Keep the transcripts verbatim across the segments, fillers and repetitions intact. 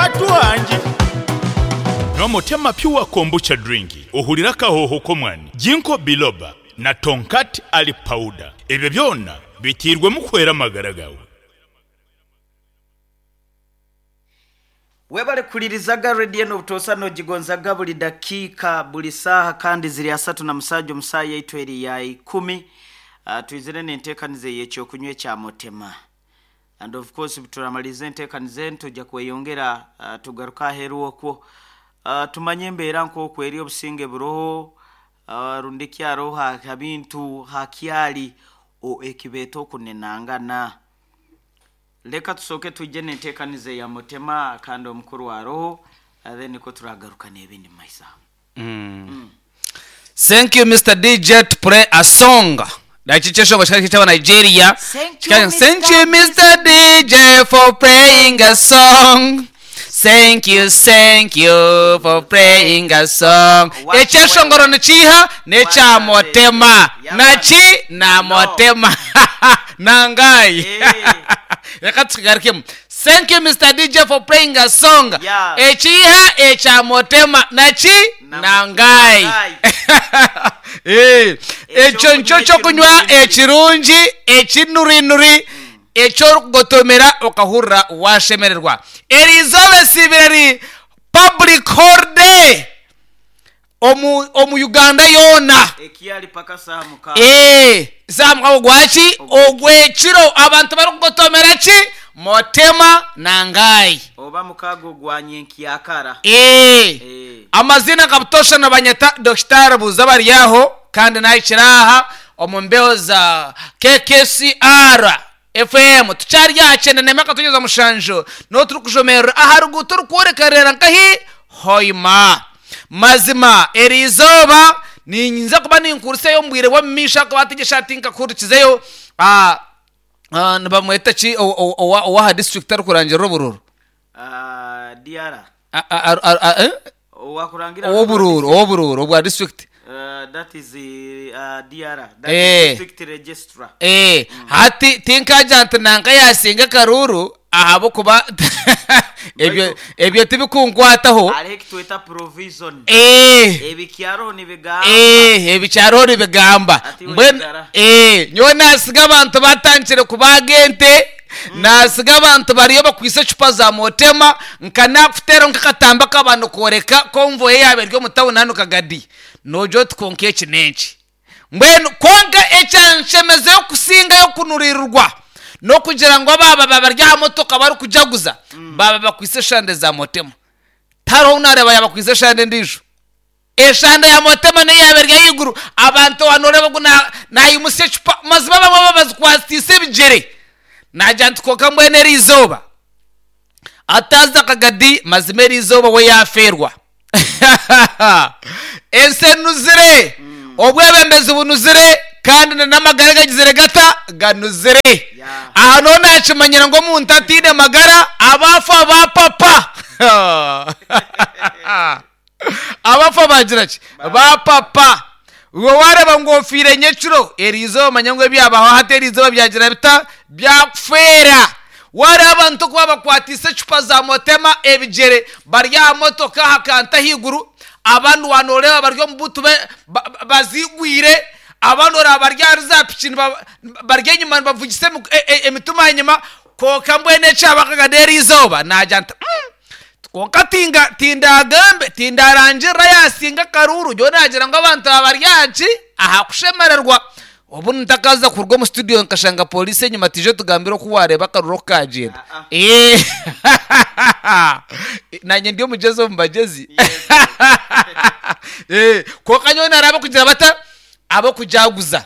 Batuhangi N'omutema Pure Kombucha Drink ohurira akahoho k'omwani Ginkgo Biloba na Tongkat Ali Powder ebyo byona bitiirwemu kuhwera amagara gaawe. Webale kuhuririzaga rediyo n'obutoosa noogigonzaga buri dakiika buri saaha kandi ziri asatu na musaaja omu saaha yaitu eri ya ikumi. uh, twizire n'enteekaniza ey'ekyokunywa ekya mutema, and of course turamaliza enteekaniza eni tujja kweyongera, uh, tugaruka aheeru okwo, uh, tumanye embeera nk'oku eri, obusinge buroho, uh, rundi kyaro ha bintu hakyali ekibeeta okunenangana. Leka tusooke twije n'enteekaniza eya mutema kandi omukuru aroho, then niko turagaruka n'ebindi mu maiso aho. Thank you, Mister D J, to play a song. Nachichesho chikali chaba Nigeria. Thank you, Thank you, Mister D J, for playing a song. Thank you, thank you for playing a song. Ekyeshongoro nikiha nekya motema. Naki na motema. Nangai. Eh. Reka tukigarukemu. Thank you, Mister D J, for playing a song. Yeah. Ekiha ekya motema naki Na- nangai. Nangai. Eh, ekyo nikyo kyokunywa ekirungi ekinurinuri ekyorukugotomera okahurira washemererwa. Eri izooba esiibire ri public holiday omu, omu Uganda yoona. Ekyali paka saaha mukaaga. Eh, saaha mukaaga ogwaki? Ogwekiro abantu barikugotomera ki? Motema nangai. Oba mukaaga ogwa nyenkyakara. Eh. Eh. Amazina kabutosha nabanyeta Dokitari Buza bari aho kandi nahikira aha omu mbeho za K K C R F M tukyari aha kyenda nemyaka tugeza mushanju niho turi kujomerera aha ruguuto rukworekerera nkahi Hoima. Mazima eri izooba ninza kuba ninkuruseyo omu bwire bw'omu maisho akuba ategyesha ati nkakurikizeyo, ah, ah, nibamweta ki owa- owa owaha district arikurangirira obururu? Ah, D R. A- a- a- a- eh? Owakurangira Owobururu, owobururu obwa district. Uh, that is uh, D R, that Eh. is district registrar. Eh, hati tinkagira nti nanka yasinga akaruru ahabwokuba ebyo ebyo tibikunkwataho. Hariho ekitweta provision. Eh, ebikyaro nibigamba. Eh, ebikyaro nibigamba. Ati Mbwenu wegara. eh, nyowe nasiga abantu batandikire kubaga ente, nasiga abantu bariyo bakwise ecupa za motema nka nakuteeraho nk'akatamba k'abantu kworeka konvoye yaaba eri omu tawuni hanu Kagadi nogira oti konka eki n'enki. Mbwenu konka ekyanshemezeyo kusingayo kunurirwa n'okugira ngu abaaba bari aha motoka barikujaguza baba bakwise eshande za motema. Tariho nareeba yabakwise eshande endiijo, eshande ya motema niyo yaba eri ahaiguru. Abantu wanoreba ngu na- nayimusa ecupa mazima bamwe babazikwatise ebigyere. Nagira nti konka mbwenu eri izooba atazi akagadi mazima eri izooba we yafeerwa. Ensi enuzire, obwebembezi bunuzire kandi na n'amagara gagizire gata ganuzire. Yeah. Aha niho nakimanyira ngu omuntu ataine magara abafa bapapa, abafa bagira ki? Bapapa. Iwe wareba ngu ofiire nyekiro eri izooba manya ngu ebyabaho hati eri izooba byagira bita byakufeera. Wareba abantu kuba bakwatise ecupa za motema ebigyere bari aha motoka aha kanta ahaiguru, abandi wanoreba bari omu butu be- ba- ba- bazigwire, abandi oraba bari ahari za piki niba- bari enyuma nibavugisa emi- e- e- emituma enyuma. Konka mbwenu ekyabakaga eri izooba nagira nti "Mm, konka tinga tindagambe tindarangirira yasinga akaruru." Nyowe nagira ngu abantu aba bari ahaki aha kushemererwa. Obu ntakaza kuruga omu studio nkashanga polisi enyuma tije tugambire oku wareeba akaruru oku kagyenda. Ah, ah. Eh. Nanye ndi omugyezi omu bagyezi. Eh, konka nyowe naraba kugira bata abokujaguza.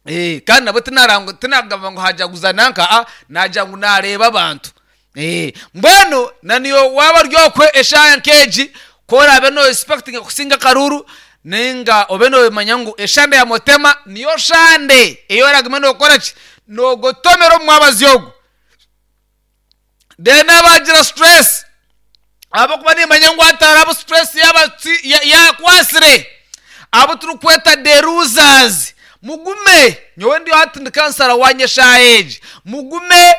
Eh, kandi nabo tinarango tinagamba ngu hajaguza nanka a nagira ngu nareeba abantu. Eh, mbwenu na niyo waba ryokwe eshaya nkeegi korabe no expecting kusinga akaruru ninga obe nomanya ngu eshande ya motema niyo shande eyo oraguma nokora ki nogotomera omu mwabazi ogwo. Then abagira stress abakuba nimanya ngu atarabo stress yabatsi- ya- yakwasire abo turikweta the losers, mugume. Nyowe ndiyo hati ndi counsellor wanye eshaaha egi, mugume.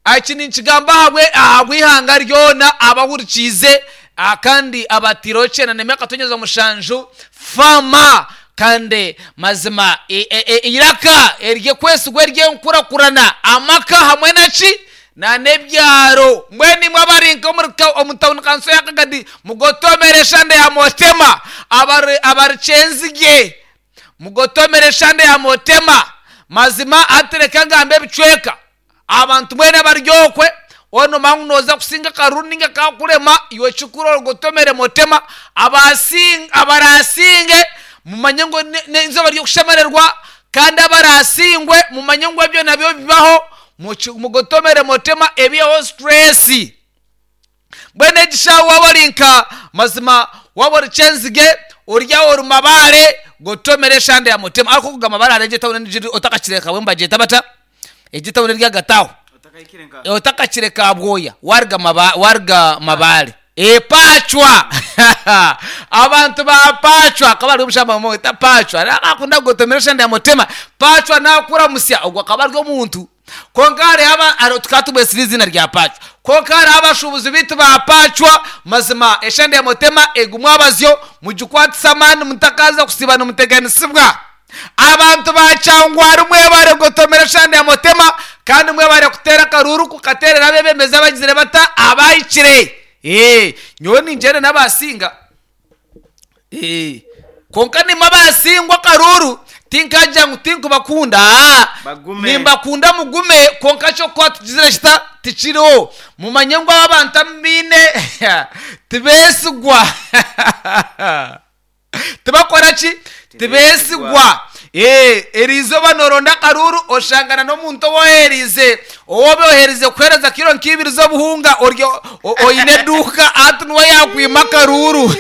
Aki ninkigamba ahabwe ahabw'ihanga ryona abahurikiize, ah, kandi abatiireho kyenda n'emyaka tonyeza mushanju fama. Kandi mazima e- e- e- iraka eryekwesigwa ery'enkurakurana amaka hamwe naki nanebyaro. Mbwenu imwe abari nka omuri ka- omu tawuni kanso ya Kagadi, mugotomere eshande ya Motema. Abari abari Kyenzige, mugotomere eshande ya Motema. Mazima atereka ngambe ebicweka abantu mwene baryokwe ono mangu noza kusinga karuru ninga kakurema iwe kikuru ogotomere Motema. Abasinga abarasinge mumanye ngo ne- n'izooba ry'okushemererwa, kandi abarasingwe mumanye ngu ebyo nabyo bibaho. Muki- mugotomere Motema ebyeho stress. Mbwenu egishaho waba ori nka mazima waba ori Kyenzige, oryaho ori Mabare, gotomere eshande ya Motema. Ariko kugamba Mabare hariho etawuni endiijo otakakireka bwe nibagyeta bata egi etawuni eri ahagati aho? Otakahikire nka Otakakire Kabwoya, waruga Maba- waruga Mabare, e Pacwa. Abantu ba Pacwa akaba ari omushamba bamweta Pacwa, akunda kugotomera eshande ya Motema. Pacwa nakuramusya, ogwo akaba ari omuntu. Konka hariho aba- hariho- tukaba tumwesire izina rya Pacwa. Konka hariho abashubuzi bitu ba Pacwa, mazima eshande ya Motema egumwe abazyo mugikwatisa amaani, mutakaza kusiba nimuteganisibwa. Abantu ba Kyangwari, mwebare gotomera eshande ya Motema, kandi mwebare kuteera akaruru kukateerera abebembezi abagizire bata abahikire. Eh, nyowe ningyenda n'abasinga. Eh, konka nimwe abasingwa akaruru tinkagira ngu tinkubakunda. Ah, Bagume. nimbakunda, mugume. Konka kyokuba tugizire kita tikiriho, mumanye ngu aba abantu amubiine tibesigwa, tibakora ki, tibesigwa. Eh, eriizooba noronda akaruru oshangana n'omuntu owoherize owoba oherize kuhereza kiro nk'ibiri z'obuhunga oryo o- oine eduuka, ati niwe yakwima akaruru.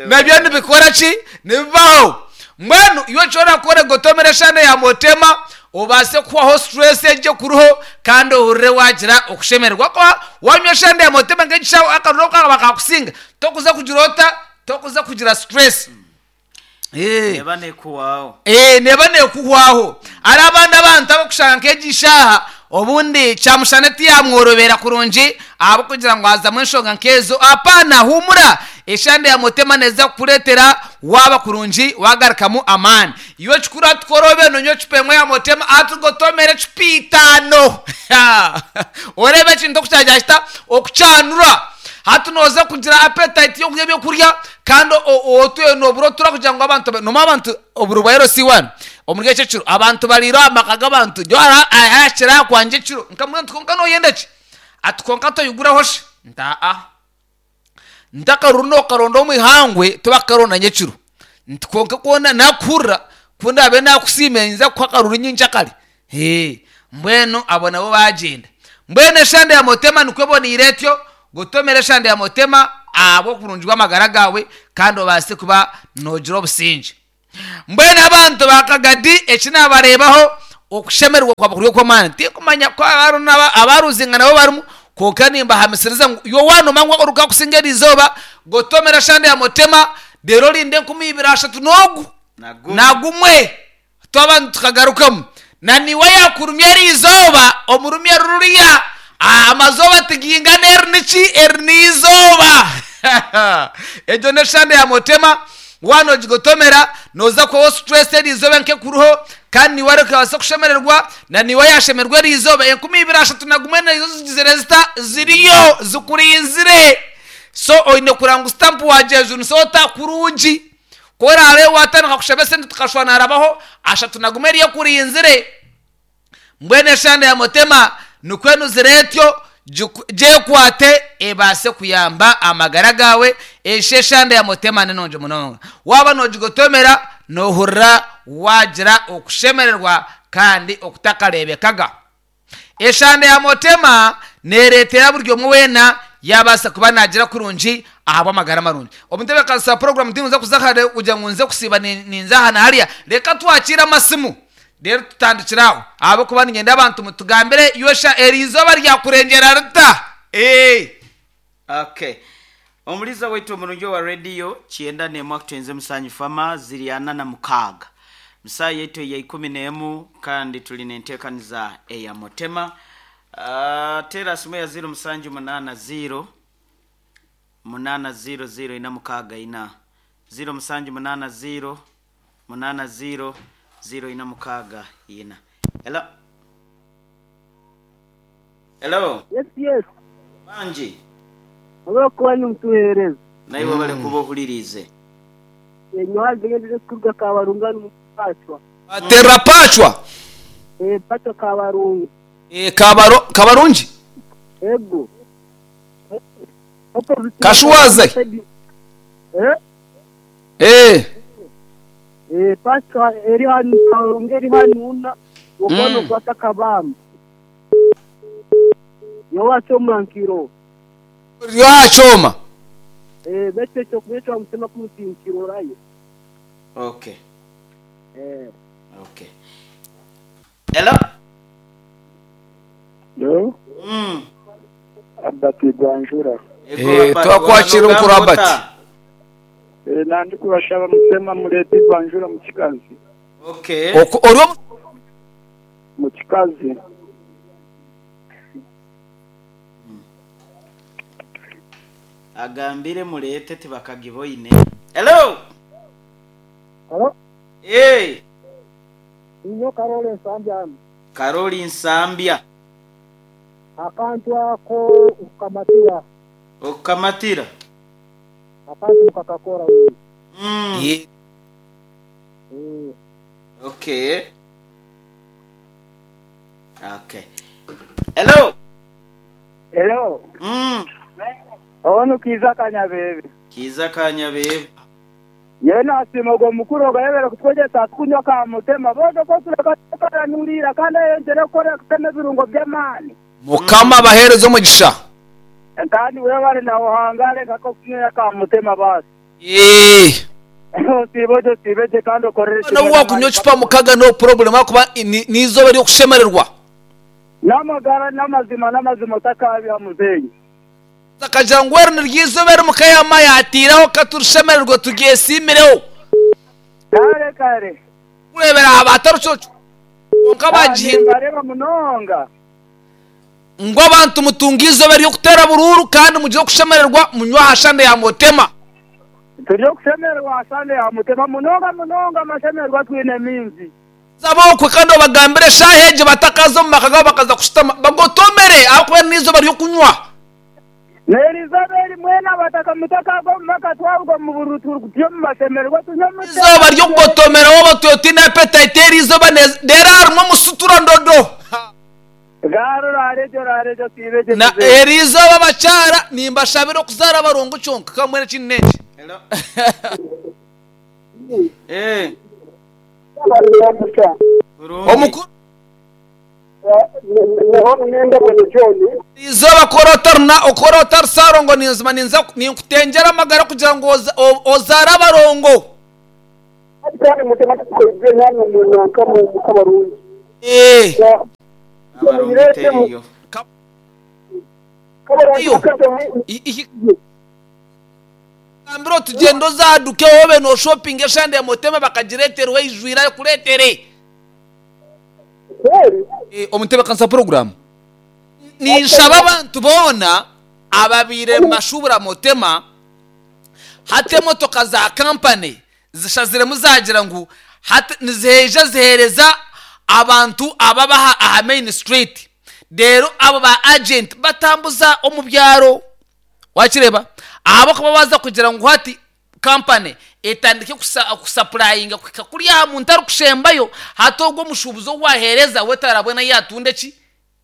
Nabyo nibikora ki, nibibaho. Mbwenu iwe nshobora kukora gotomera eshande ya Motema, obaase kuhwaho stress egyo kuriho, kandi ohurire wagira okushemererwa kwa wanywa eshande ya Motema. Nk'egishaho akaruru kaba kakusinga, tokuza kugira ota, tokuza kugira stress. Eh. Neba nekuwaho. Eh, neba nekuhwaho. Ari abandi abantu abakushanga nk'egi shaaha obundi kyamushana tiyamworobera kurungi ahabwokugira ngu hazamu enshonga nkezo. Apana, humura, eshande ya Motema neza kukureetera waba kurungi, wagarukamu amaani. Iwe kikuru atukorobe nonywa ecupa emwe ya Motema, atugotomere ecupa itaano, orebe ekintu okukyagya kita okukyanura. Hati noza kugira appetite yokurya ebyokurya, kandi otwe nobura otura kugira ngu abantu ba- noma abantu oburo bwa L C one omuri ekyo ekiro abantu bariire aha maka g'abantu. Jo ahakira kwanje ekiro nkamubwira nti konka noyenda ki? Ati konka toyiguraho shi? Nti aa, ntakaruru nokaronda omu ihangwe tibakaronda nyekiro. Nti konka kwona nakuhurira kundabe nakusiima nza kuha akaruru nyincakare. Ee, mbwenu abo nabo bagyenda. Mbwenu eshande ya Motema nikwo eboneire etyo. Gotomera eshande ya Motema ahabw'okurungi bw'amagara gawe, kandi obaase kuba nogira obusingye. Mbwenu abantu ba Kagadi, eki nabareebaho okushemererwa kwaba kuri okw'amaani. Tinkumanya ko abaru n'aba- abaruzinga nabo barimu, konka nimbahamisiriza ngu iwe wanoma ngu oruka kusinga eriizooba, gotomera eshande ya Motema, reero orinde enkumi ibiri ashatu n'ogu Nagumwe. Nagumwe twaba tukagarukamu na niwe yakurumya eriizooba omurumya ruriya. Ah, amazooba tigingana, eri niki, eri niizooba. Egyo n'eshande ya Motema, wana ogigotomera noza kubaho stress eriizooba nkekuruho, kandi niwe arikabasa kushemererwa na niwe yashemerwa eriizooba. Enkumi ibiri ashatu na gumwe nazo zigizire zita ziriyo zikurinzire. So oine kuranga ngu stamp wagyejunisa ota kurungi korare watandika kushaba esente tukashwana harabaho ashatu na gumwe eriyo kurinzire. Mbwenu eshande ya Motema nikwo enuzire etyo, giku- gyekwate ebaase kuyamba amagara gawe. Esho eshande ya Motema ninongi munonga, waba nogigotomera nohurira wagira okushemererwa kandi okutakarebekaga. Eshande ya Motema nereetera buri omwe weena yabaasa kuba nagira kurungi ahabw'amagara marungi. Omutebeekanisa wa program, tinza kuza hare kugira ngu nze kusiiba ni- ninza aha na hariya. Reka twakire amasimu rero tutandikire aho, ahabwokuba ninyenda abantu mutugambire yosha eriizooba ryakurengera rita. Eh. Okay, omuliza waitu omurungi wa rediyo kyenda nemu akutenze musanyu fama ziri ana na mukaaga musaa yaitu eya ikumi n'emu, kandi tuli nenteekaniza eya Motema. Ah, tera simu ya ziro musanju munana ziro munana ziro ziro ina mukaga ina ziro musanju munana ziro munana ziro ziro ina mukaga ina. Hello, hello. Yes, yes. Banji. Olwokuba nimutuheereza. Naiwe bali kuba ohulirize. Enyoha zigendere kuruga Kabarunga nimupatwa. Terra pachwa. Eh, patwa Kabarunga. Eh, kabaro kabarungi. Ego. Opposite. Kashuwaze. Eh? Eh, Eh, patwa eri hanu Kabarunga eri hanu una. Okono Mm. kwata kabamba. Yowa chomankiro. ya choma. Eh, bete chokubetwa mutema kumutinkiro rayo. Okay. Eh. Okay. Hello. Yo, Mm. Abati Gwanjura. Ego, Eh, Abati, twakwakira wano mukuru Abati. gambota. Eh, nandi kubashaba mutema murete Gwanjura mu kikazi. Okay. Oko ori Mu kikazi. Agambire murete tibakagiboine. Hello. Hello? Hey, Inyo Karole Nsambya. Karoli Nsambya. Akantu ako ukamatira. Okamatira. Akantu mukakakora wewe. Mm. Eh, Eh. Okay. Okay. Hello. Hello. Mm. Ono kiza kanyabebe. Kiza kanyabebe. Yewe nasima ogwo mukuru ogayebera kutwegyesa kunywa ka mutema bozo ko tureka tukaranurira kandi ayongyere kukora kutema ebirungo by'amaani. Mukama abahereza omugisha. Kandi webale nawe ohangare nkako kunywera ka mutema basi. Eh. Osiibe ogyo osiibe gye kandi okorere No wakunywa chupa mukaga no problem akuba nizoba ryo kushemererwa. N'amagara n'amazima n'amazima otakabya muzeeyi. Akagira ngu eri niryizoba mukayama yatiraho katurushemererwa tugyesimireho. Kare kare. Kurebera abatarucoco. Konka bagihinda bareba munonga. Ngo abantu mutunga izoba ryo kutera bururu kandi mugire kushemererwa munywa hashande ya mutema. Turi kushemererwa hashande ya mutema munonga munonga amashemererwa twine mingi. Zabokwe kandi obagambire shaheje batakaza mu maka gabo bakaza kushitama bagotomere aho n'izoba ryo kunywa. Nerizaberi mwena bataka mutaka go maka twabwo mu burutu byo mu mashemererwa tunywa mutema. Izoba ryo kugotomera wowe totina appetite izoba rero harimo musutura ndodo. Garo rarejo rarejo tibeje. Na erizoba bacara nimbashabira kuzara abarongo cyonka kamwe kinene. Hello. Eh. Omukuru nenda bwana John. Izoba korotarna okorotar sarongo ninzima ninza ninkutenjera amagara kugira ngo ozara abarongo. Kandi mutema tukozwe namwe munanka mu kabarundi. Eh. Abarongo teriyo. Ambiro tugendo zaduke wobe no shopping eshande mutema bakagireterwe ijwira kuretere. Eh, omutebe kansa program. Ninshaba abantu bona ababire mashubura mutema hate motoka za company zishazire muzagira ngu hate nizeje zihereza abantu ababaha aha main street. Rero abo ba agent batambuza omubyaro wakireba abo kuba baza kugira ngo hati company etandike kusupplyinga kuri ya muntu ari kushembayo hatogwo mushubuzo wahereza wetarabona yatunde ki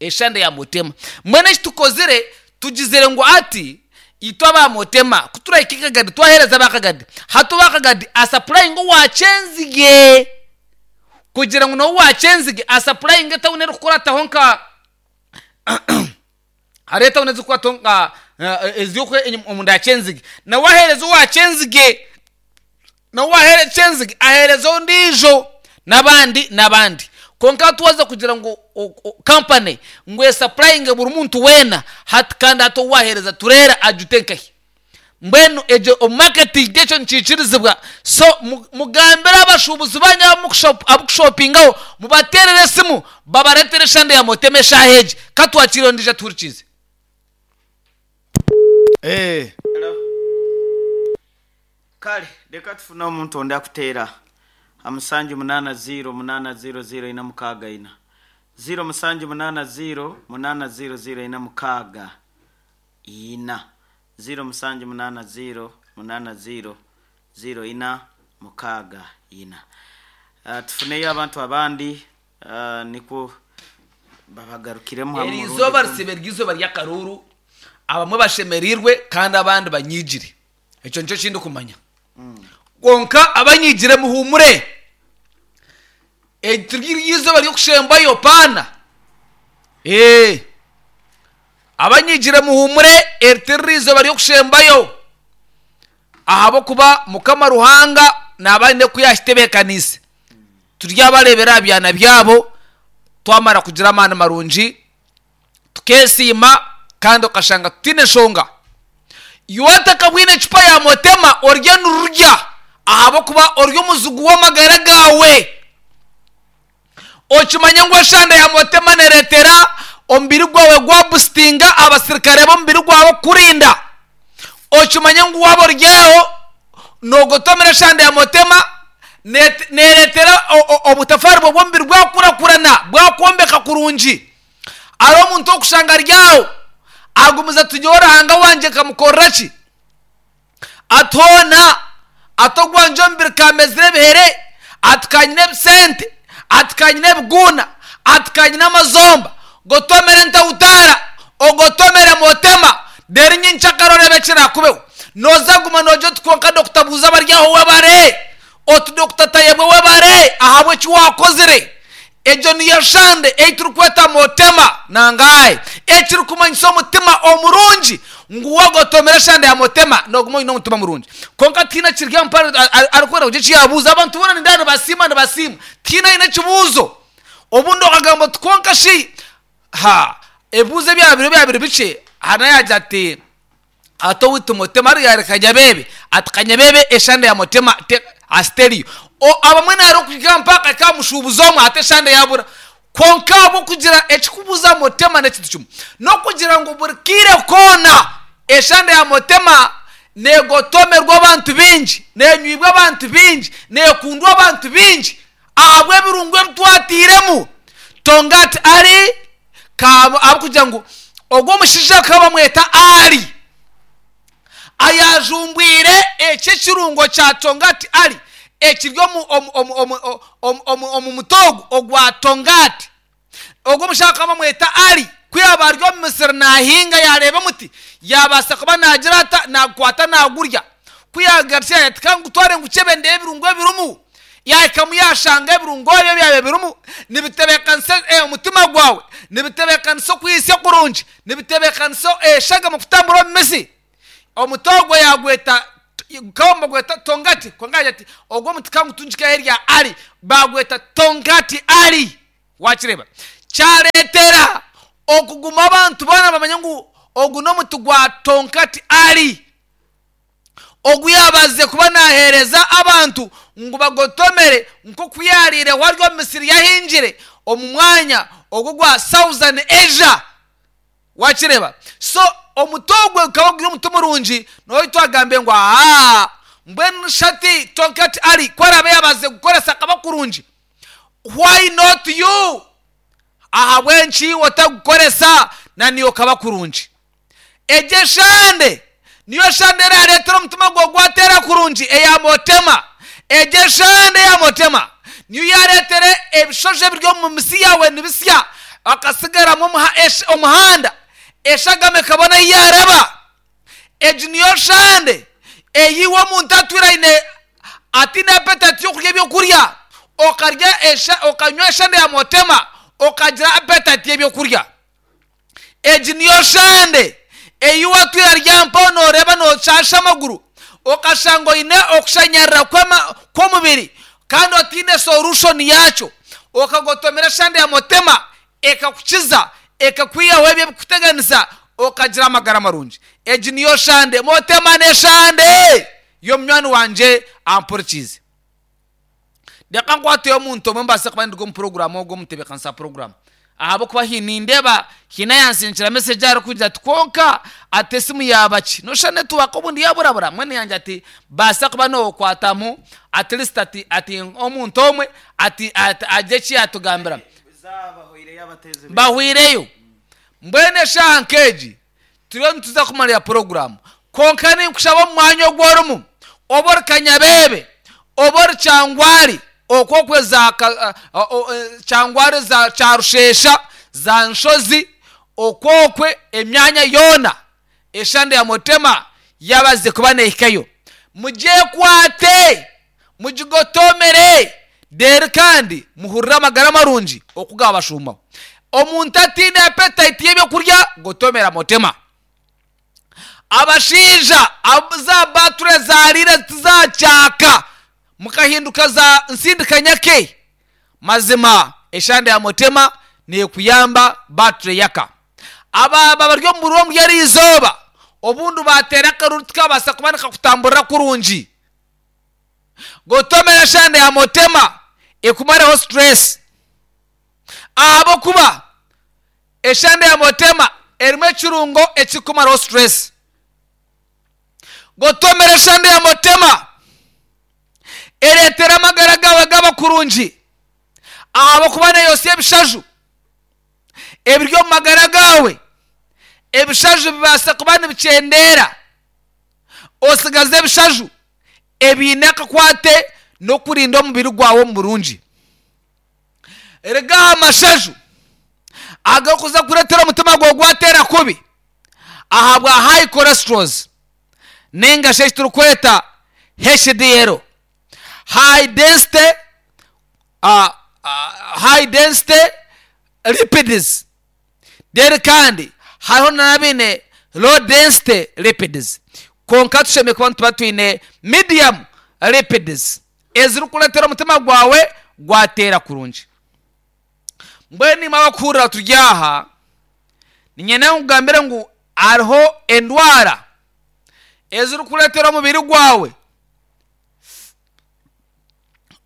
eshande ya mutema. Mwene tukozire tugizere ngo ati itwa ba mutema kutura ikikagadi twahereza bakagadi hatu bakagadi asupplyinga wachenzige kugira ngo no wachenzige asupplyinga tawune rukora tahonka hareta unaweza kuwa tonga eziyokwe omunda chenzige na wahereza wachenzige na wahere chenzige ahereza ondijo nabandi nabandi konka tuwaza kugira ngo company ngwe supplying buri muntu wena hat kandi ato wahereza turera ajutenkahi Mbwenu egyo omu marketing ekyo nikiikirizibwa. So mugambire abashuubuzi banyu abukushopingaho mubateerere esimu babareetere eshande ya Motema eshaaha egi. Ka twakiire ondiijo atuhurikiize. Eh. Kale reka tufune omuntu ondi akuteera ha musanju munaana ziro munaana ziro ziro ina mukaaga ina. Ziro musanju munaana ziro munaana ziro ziro ina mukaaga ina. Ziro musanju munaana ziro munaana ziro ziro ina mukaaga ina. Uh, tufuneyo abantu abandi uh, nikwo babagarukiremu hamwe Eri orundi izooba gundi. risibe ry'izooba ry'akaruuru, abamwe bashemereirwe kandi abandi banyiigire. Ekyo nikyo kindikumanya. Kwonka abanyiigire muhuumure. Eri tiri ry'izooba ry'okushembayo paana. Ee. Abanyiigire muhuumure, eri tiri ry'izooba ry'okushembayo. Ahabw'okuba Mukama Ruhanga naaba aine ku yaakitebeekaniise. Turyabareebera aha byana byabo, twamara kugira amaani marungi, tukeesiima kandi okashanga tutaine nshonga. Iwe otakabwine ecupa ya Motema orye nirurya ahabw'okuba ori omuzigu w'amagara gaawe. Okimanye ngu eshanda ya Motema nereetera omubiri gwawe gwabusitinga abasirikare b'omubiri gwawe kukurinda. Okimanye ngu waaba oryaho noogotomera eshanda ya Motema nereetera obutafaari bwawe bw'omubiri bwakurakurana bwakwombeka kurungi. Hariho omuntu orikushanga aryaho agumize ati nyowe Ruhanga wangye nkamukorera ki? Ati hoona ati ogwangye omubiri kamezire ebihere, ati kanyine ebisente, ati kanyine ebiguuna, ati kanyine amazomba, gotomere entawutaara, ogotomere Motema, reero nyenkyakare oreebe ekiraakubeho. Nooza guma noogira oti kwonka Dokita Buuza abari aho webare, oti Dokita Tayebwa webare ahabw'eki waakozire. Egyo niyo shande ei turikweta Motema nangahi, ekirikumanyisa omutima omurungi, ngu waagotomera eshande ya Motema nooguma oine omutima murungi. Kwonka tihaine kiri aha mpare arikwenda kugira eki yaabuuza. Abantu boona nindeeba nibasiima nibasiima, tihaine aine ekibuuzo. Obundi okagamba oti kwonka shi ha ebibuuzo ebyaba biri byaba biri bikye, hariho ayaagira ati ati owaitu Motema hariya hari Kanyabeebe, ati Kanyabeebe eshande ya Motema asiteriyo. Abamwe nari okuhika mpaka akahika aha mushuubuzi omwe ati eshande yaabura. Kwonka ahabw'okugira ekirikubuuza Motema n'ekintu kimwe, n'okugira ngu buri kaire koona eshande ya Motema neegotomerwa abantu baingi, neenywibwa abantu baingi, neekundwa abantu baingi ahabw'ebirungo ebi twatairemu. Tongati ari ahabw'okugira ngu ogwo omushaija bakaba bamweta Ali ayajumbwire eki ekirungo kya Tongati Ali ekiri omu, omu, omu, omu, omu, omu, omu muti ogu ogwa Tongati. Ogwo omushaija bakaba bamweta Ali, ku yaaba ari omu misiri naahinga yaareeba omuti, yaabaasa kuba naagira ata, naagukwata naagurya. Ku yaagarukire yaagira ati, ka ngutware ngukyebe ndeebe ebirungo ebirimu. Yaahikamu yaashanga ebirungo ebyo ebyabaire birimu nibitebeekanisa omutima gwawe, nibitebeekanisa okwitsya kurungi, nibitebeekanisa eshagama kutambura omu mitsi. Omuti ogwo yaagweta, gukaba nibagweta Tongati, kwonka yaagira ati, ogwo omuti ka ngutungike ahu erya Ali, baagweta Tongati Ali. Waakireeba? Kyareetera okuguma abantu boona bamanya ngu ogu n'omuti gwa Tongati Ali. Ogu yaabaasize kuba naaheereza abantu ngu bagotomere nk'oku yaariireho ari omu misiri yahingire omu mwanya ogwo ogwa Southern Asia. Waakireeba? So omuti ogwo gukaba guri omuti murungi, n'obu twagambire ngu aa mbwenu shi hati Tonkat Ali ku araabe yaabaasize kugukoresa akaba kurungi, why not you? Ahabw'enki iwe otarikugukoresa na naiwe okaba kurungi? Egyo eshande niyo shande eraareetera omutima gwawe gwateera kurungi eya Motema. Egyo eshande eya Motema niyo yaareetera ebishojo ebiri omu misi yaawe nibisya, hakasigaramu omuhanda, eshagama ekabona ahu yaaraba. Egi niyo shande ei iwe omuntu atwire aine ataine apetayiti y'okurya ebyokurya, okarya okanywa eshande ya Motema okagira apetayiti y'ebyokurya. Egi niyo shande ei watwire ari aha mpaho nooreeba nooshaasha amaguru, okashanga oine okushanyarara kw'omubiri kandi otaine solution yaakyo, okagotomera eshande ya Motema ekakukiza, ekakwihaho ebyo ebirikukuteganisa, Okagira amagara marungi. Egi niyo shande motema n'eshande y'omunywani wanje ampurikize. Reka nkwateyo omuntu omwe mbaase kuba ndi omu puroguramu ogwo omutebeekanisa puroguramu ahabw'okuba hi nindeeba hiine ayansinkira message arikugira ati kwonka ati esimu yaaba ki noshusha netiwaaka obundi yaburabura mwene yangye ati baasa kuba nookwatamu at least ati ati omuntu omwe ati ati agire eki yaatugambira. Zabahwireyo abateezi. Bahwireyo. Mbwenu eshaaha nk'egi turiyo nituza kumarira puroguramu, kwonka ninkushaba omu mwanya ogu orimu, oba ori Kanyabebe, oba ori Kyangwari, okwokwe za ka- o- o- e, Kyangwari, za Kyarushesha, za Nshozi, okwokwe emyanya yoona eshande ya motema yabaze kuba neehikayo, mugyekwate, mugigotomere reero kandi muhurire amagara marungi okugabashumaho. Omuntu atiine appetite y'ebyokurya, gotomera motema. Abashaija ab- za bature zarire tizakyaka, mukahinduka za nsindikanyake, mazima eshande ya motema nekuyamba bature yaka. Ababa bari omu buriro omuri eri izooba, obundi bateera akaruru tikabaasa kuba nikakutamburira kurungi, gotomera eshande ya motema ekumareho stress, ahabwokuba eshande ya motema erimu ekirungo ekikumaraho stress. Gotomera eshande ya motema ereetera amagara gawe gaba kurungi, ahabwokuba neeyosya ebishaju ebiri omu magara gawe. Ebishaju bibaasa kuba nibikyendera, osigaze ebishaju ebiine akakwate n'okurinda omubiri gwawe omu burungi. Rigaha amashaju agakuza kureetera omutima gwawe gwateera kubi ahabwa high cholesterols, ninga shi eki turikweta H D L, high density uh, uh, high density lipids. Then kandi hariho n'abiine low density lipids, kwonka tushemereire kuba nituba twine medium lipids ezirikureetera omutima gwawe gwateera kurungi. Mbwenu imwe abakuhurira turi aha, niinyenda nkugambire ngu hariho endwara ezirikureetera omubiri gwawe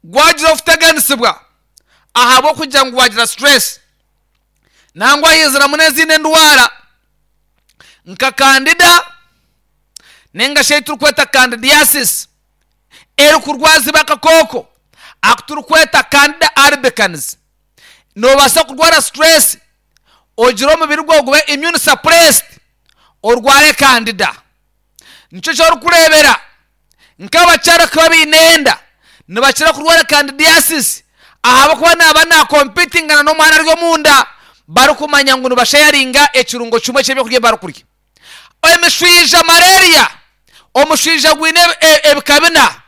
gwagira okuteganisibwa ahabw'okugira ngu wagira stress, nangwa hiziramu n'ezindi endwara nka candida, ninga shi ei turikweta candidiasis, erikurwazibwa akakooko aku turikweta Candida albicans. Noobaasa kurwara stress, ogire omubiri gwawe gube immune suppressed, orware candida. Nikyo kyorikureebera nk'abakyara kuba baine enda nibakira kurwara candidiasis, ahabwokuba naba nakompitingana n'omwana ari omunda, barikumanya ngu nibashayaringa ekirungo kimwe ky'ebyokurya barikurya. Emishwija, malaria, omushwija gwine e- ebika bina.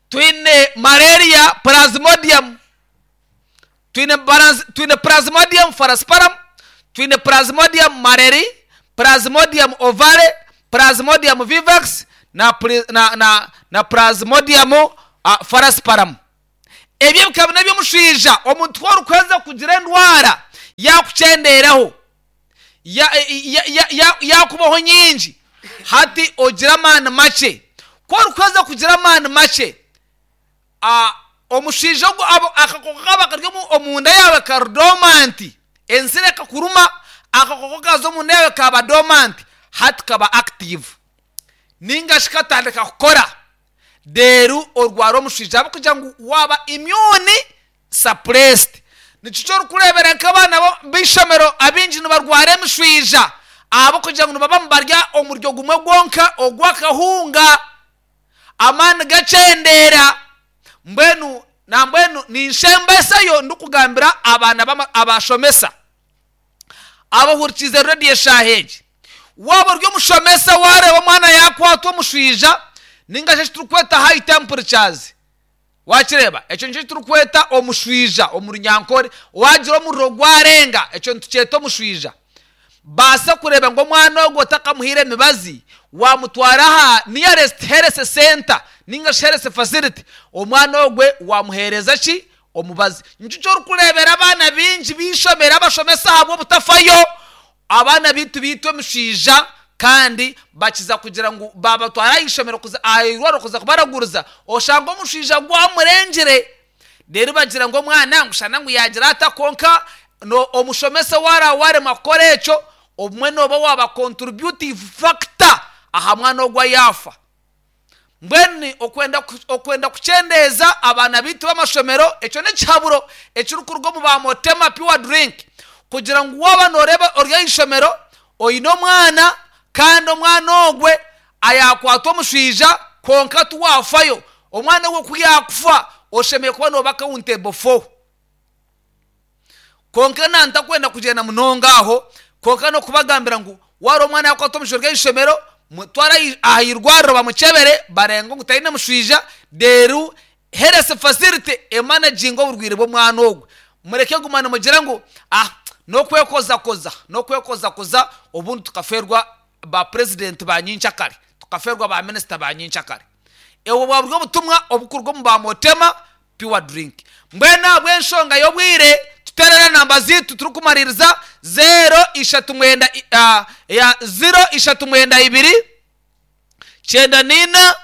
Twine malaria plasmodium, twine balance, twine Plasmodium falciparum, twine Plasmodium malariae, Plasmodium ovale, Plasmodium vivax na, pri- na, na, na Plasmodium uh, falciparum. Ebyo ebika bina by'omushwija. Omuntu orikweza kugira endwara yakukyenderaho, ya- ya- ya- ya- yakubaho nyingi, hati ogira amaani makye. Ku orikweza kugira amaani makye, ah, omushaija ogu abo- akakooko kaba kari omu- omunda yawe kari dormant, ensiri ekakuruma, akakooko kaza omunda yawe kaba dormant, hati kaba active ninga shi katandika kukora, reero orwara omushaija ahabw'okugira ngu waaba immune suppressed. Nikyo kyorikureebera nk'abaana bo- b'eishomero abaingi nibarwara emishwija, ahabw'okugira ngu nibaba nibarya omuryo gumwe gwonka ogw'akahunga, amaani gakyendera. Mbwenu nambwenu ninshembesayo ndikugambira abaana b'ama- abashomesa abahurikize rediyo eshaaha egi: waaba ori omushomesa, wareeba omwana yakwatwa omushwija ninga shi eki turikweta high temperatures, wakireeba ekyo nikyo turikweta omushwija omu Runyankore, wagira omuriro gwarenga, ekyo nitukyeta omushwija, baasa kureeba ngu omwana ogwo otakamuhaire emibazi, wamutwara aha nearest health center ninga shi health facility, omwana ogwe wamuheereza ki? Omubazi. Nikyo kyorikureebera abaana baingi b'eishomero abashomesa ahabw'obutafayo. Abaana bitu bitwe emishaija kandi bakiza kugira ngu babatwara ishomero kuza airwaro kuza kubaraguriza oshanga omushaija gwamurengere rero bagira ngo omwana ngushana ngu yagira ata konka no omushomesa wara warema kukora ekyo obumwe noba waba contributive factor aha mwana ogwa yafa. Mbwenu okwenda okwenda kuchendeeza abaana bitu b'amashomero ekyo n'ekihaburo ekirikuruga omu ba Motema Pure Drink kugira ngu waba noreeba ori aishomero oine omwana kandi omwana ogwe ayakwata omushaija konka tuwafayo omwana ogwe ku yakufa oshemeye kuba noba accountable for. Konka nantakwenda kugenda munonga aho konka nokubagambira ngu wari omwana yakwata omushaija aishomero mutwara ahirwariro bamuchebere barenga ngu taine mushaija deru health facility emanaginga oburwire bw'omwana ogwe. Mureke gumana mugira ngu ah nokwekozakoza nokwekozakoza obundi tukaferwa ba president ba nyinchakare tukaferwa ba minister ba nyinchakare. Ewo bwabwo obutumwa obukurwa mu ba Motema Pure Drink. Mbwena bw'enshonga y'obwire tuterera namba zitu turukumaririza zero ishatu mwenda uh, ya zero ishatu mwenda ibiri chenda nina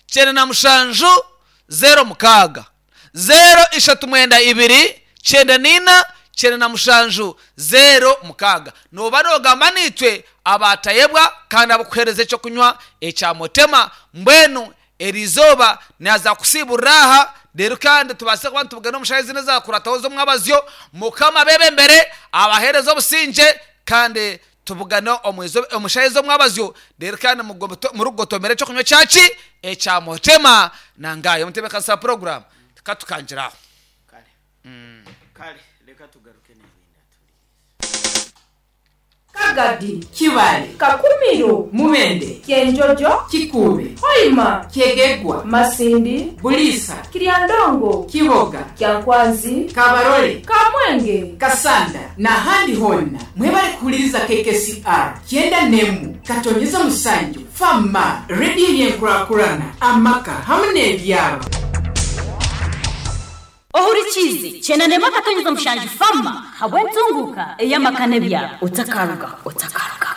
chenda na mushanju zero mukaga zero ishatu mwenda ibiri chenda nina chenda na mushanju zero mukaga. Noba nogamba nitwe abatayebwa kandi abakuhereza ekyo kunywa ekya Motema. Mbwenu erizoba naza kusiburaha rero kandi tubase kuba tubugana omushayizi neza kurataho zo mwabazyo mukama bebe mbere abahereza obusinje kandi tubugana omwezo omushayizi mwabazyo rero kandi murugotomere cyo kunywa cyaci ekya Motema nangayo mutebe kansa program tukatukanjiraho kale. Mm. Kale reka tugaruke n'ibindi Kagadi, Kibale, Kakumiro, Mubende, Kyenjojo, Kikube, Hoima, Kyegegwa, Masindi, Bulisa, Kiryandongo, Kiboga, Kyankwanzi, Kabarole, Kamwenge, Kasanda n'ahandi honna mwebale kuhuliriza K K C R kyenda nemu katonyeza musanju fama rediyo yenkurakurana amaka hamwe n'ebyalo. Ohurikize cyenda nema katonyeza mushanju fama habwe ntunguka eyamakane byabo utakaruga utakaruga.